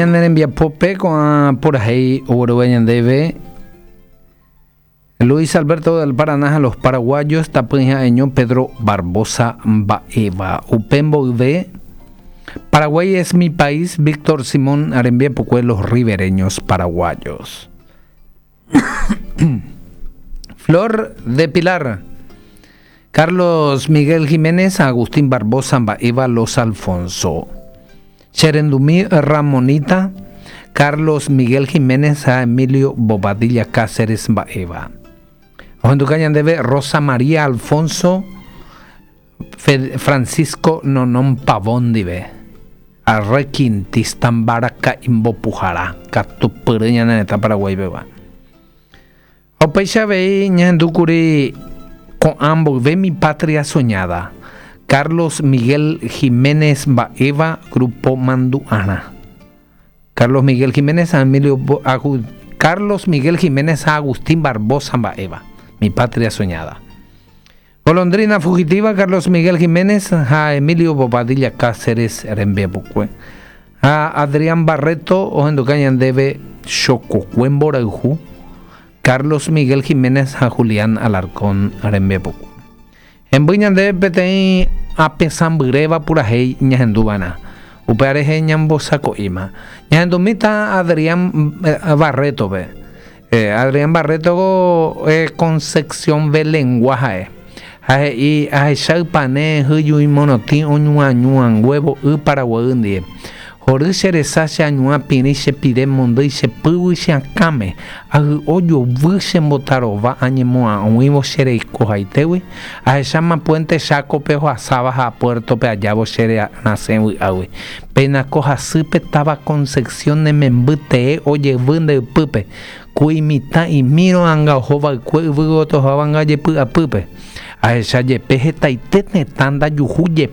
Ñane rembiapópe ko'ã purahéi oguerúva ñandéve Luis Alberto del Paraná ha los paraguayos tapỹi ha'eño Pedro Barbosa mba'éva. Upe mboyve Paraguay es mi país Víctor Simón rembiapokue Los Ribereños Paraguayos. Flor de Pilar Carlos Miguel Jiménez ha Agustín Barbosa mba'éva Los Alfonso. Che rendumi Ramonita, Carlos Miguel Jiménez ha Emilio Bobadilla Cáceres mba'éva. Ohenduka ñandéve Rosa María Alfonso Francisco Nonón Pavón ndive. Arrequintista mbaraka imbopuhara katupyry ñane retã Paraguái pegua. Ha upéicha avei ñahendúkuri ko'ã mboyve Mi Patria Soñada, Carlos Miguel Giménez mba'éva Grupo Mandu'arã. Carlos Miguel Giménez ha Emilio Carlos Miguel Giménez ha Agustín Barbosa mba'éva Mi Patria Soñada. Golondrina Fugitiva, Carlos Miguel Giménez ha Emilio Bobadilla Cáceres rembiapokue. Ha Adrián Barreto ohenduka ñandéve Chokokue Mborayhu, Carlos Miguel Giménez ha Julián Alarcón rembiapokue. Hemby ñandéve peteĩ apesãmbyréva purahéi ñahenduva'erã. Upéva rehe ñambosako'íma. Ñahendumíta Adrián Barreto-pe. Adrián Barreto Concepción Belengua ha'e. Ha he'i, Ahecha ypane hyjui morotĩ oñuañuanguévo y Paraguay ndie. Hory che resa che añuã pirĩ che pire mondýi che pýgui che akãme, ahy'o jovy che mbotarova añemo'ãguĩvo che reikohaitégui, ahecháma puente Chácope ohasáva ha puerto-pe ajávo che rasẽ vy'águi. Péina ko hasýpe táva Concepción ne memby tee ojevy nde ypýpe, ku imitã imírõ anga oho va'ekue yvy gotyo ohóva anga jepy'apýpe. Ahecha jepe hetaite tetã ndajuhu jepe.